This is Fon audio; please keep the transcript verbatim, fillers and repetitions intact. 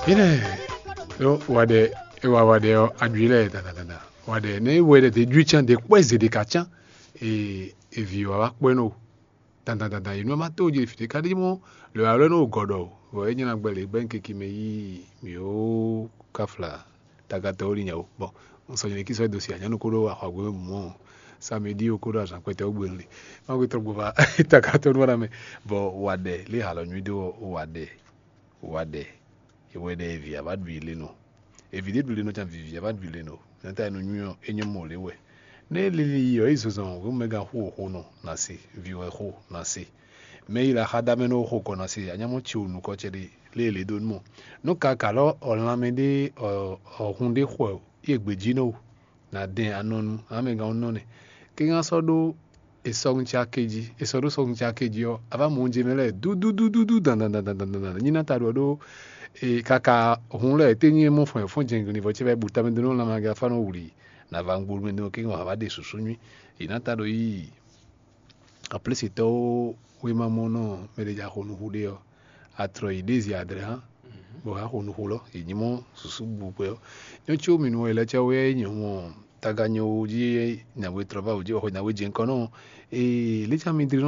Mine, yo, waɖɛ, e wa waɖɛ ɔ, aɖui lɛ dandan dandan. Waɖɛ ne wɛ ɖe de ɖui can de kpɔ eze de ka can. E e vi wa wa kpɔ no dandan dandan. Yi nu ma to je fi de ka ɖi mɔ le wa lɛ no gɔdɔ. Vɔ e nyina gbɛ le gbɛ keke me yi mi o kafla tagatɔ o li nya o. Bon, n sɔ nyine ki sɔ do si anyanu ko ɖo axɔgbe mɔ samedi o ko ɖo azan kpɛtɛ o gbe le. Ma ko trɔ gbɔ va tagatɔ nu wa na mɛ. Bɔ waɖɛ le halɔ nyui do waɖɛ. Waɖɛ, e wɛ ɖe evi a va ɖu yi le nɔ. Evi ɖé ɖu le nɔ can vivi a va ɖu yi le nɔ. Nɛta e nɔ nywɛ ɔ́, é nyɔ́ mɔ lě wɛ. Nɛ́ lili yi ɔ́, é zɔzɔn hwemɛ gán xo xo nɔ na se, vi wɛ xo na se. Mɛ yi la xa da mɛ nɔ xo kɔ na se, anyamɔ ci o nukɔ cɛ ɖe lé lě dó nú mɔ. Nú ka ka lɔ ɔ lanmɛ ɖé ɔ ɔ hun ɖé xɔ ye gbejí nɔ o. Na dɛn anɔnu amɛgán ɔ́ nɔ nɛ. Kɛ́n sɔ́ ɖó è sɔ́ nú cá kéjí, è sɔ́ ɖó sɔ́ nú cá kéjí ɔ́, a vǎ mɔ oúnjẹ mɛ lɛ́ɛ dúdúdúdúdú dandandandandandan. Nyí ná ta ɖɔ ɖó e kaka hun lɛ́ɛ té nyí mɔ fɔn fɔn jɛnglin vɔ cɛ vɛ bu tamɛ dó nɔ lanmɛ aga fá nɔ wuli. Na va ŋgbolu mɛ dó kɛ́n wǎ vá ɖe susu nyui. È nǎ ta ɖɔ yí. Aplísitɔ́ wéma mɔ nɔ mɛ ɖé ja xo nuxu ɖé ɔ́, a tlɔ yi ɖézi adrɛ hã, bɔ a xo nuxu lɔ, è nyí mɔ susu bu kpɛ ɔ́. Nyɔ́ có mi nu wɛ lɛ́ cɛ wɛ nyɔ mɔ taga nyɔ wo jí nyawe trɔ va wǒ jí wɔ xɔ nyawe jɛ nukɔn nɔ. Ee, lě cɛ mi dlí nɔ